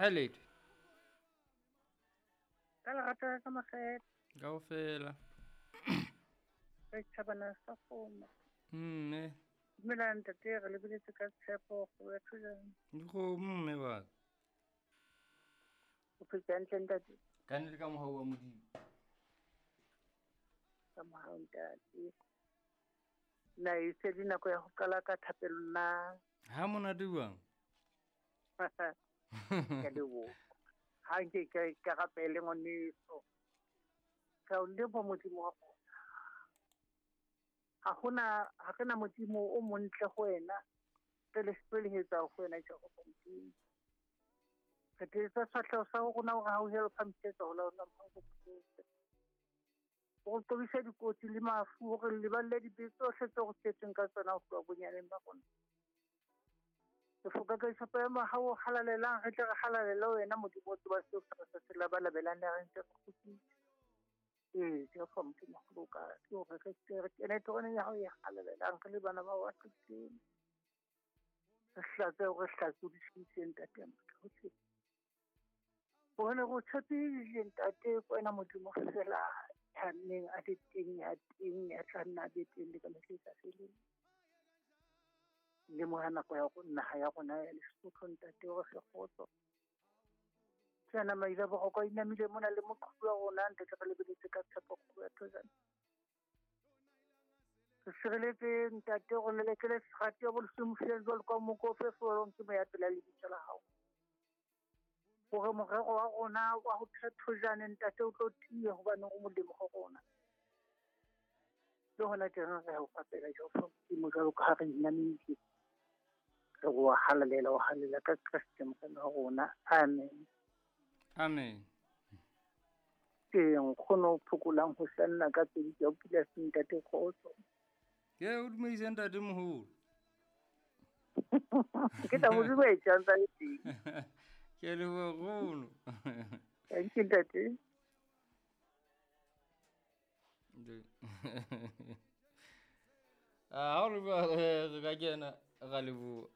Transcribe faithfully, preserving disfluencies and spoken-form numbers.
Ha late. Ka lerato ka makgethe. Kaofela. Re tjhabana sa kgomo. Mme. Dumela ntate, re lebeletse ka tshepo go ya thujang. Dikgomo mme ba. O phetse hantle ntate? Ka nnete ka mohau wa Modimo. Ka mohau ntate. Na e se le nako ya ho qala ka thapelo na? Ha monate jwang? Ke leboha. Ha nke ka ka rapele ngwaneso. Ka o leboha Modimo wa rona. Ha hona ha re na Modimo o montle ho wena. Re le sebelehetsa ho wena Jehova Modimo. Re tletsa sefahleho sa rona hore ha o hele phamisetsa ho laola ho o qobisa dikotsi le mafu hore le leballe dibe tsohle tseo re setseng ka tsona ho tloha bonyaneng ba rona. Re foka ka tshepo ya mohau o halalelang, re tle re halalele wena Modimo o tseba seo re sa se labalabelang le re ntse re kgutsitse. Ee, Jehova Modimo wa loka, ke hore re tle re kene teroneng ya hao e halalelang re le bana ba hao ba tloditseng. Re hlatse hore re hlatsodisitse ntate ya motho hohle. Hobane re o tshepile ntate, ke wena Modimo feela ya neng a le teng, ya teng, ya tla nna a be teng le ka mehla e sa feleng. Lemoha nako ya rona, naha ya rona ya Lesotho ntate, hore re kgotso. Ke ana maile a boroko a inamile mona le moqhubu wa rona ntate, re lebeletse ka tshepo kgolo ya Thozane. Re sireletse ntate, re lelekele serati ya bolesomofeng jwalo ka moko o fefolwang ke moya pela lebitso la hao. Hore morero wa rona wa ho Thozane ntate o tlo tiya hobane o molemo ho rona. Le hona teng re o rapela Jehova Modimo jwalo ka ha re inamile. Re o halalela, o halalela ka Kreste Morena wa rona. Amen. Amen. Ke nkgono o phokolang ho hlanna ka pedi ke o pila se ntate kgotso. Ke o dumedise ntate moholo. Ke tla mo dumedisa ntse le teng. Ke leboha nkgono. Thank you ntate. Ah, ha o re ka kena ra leboha.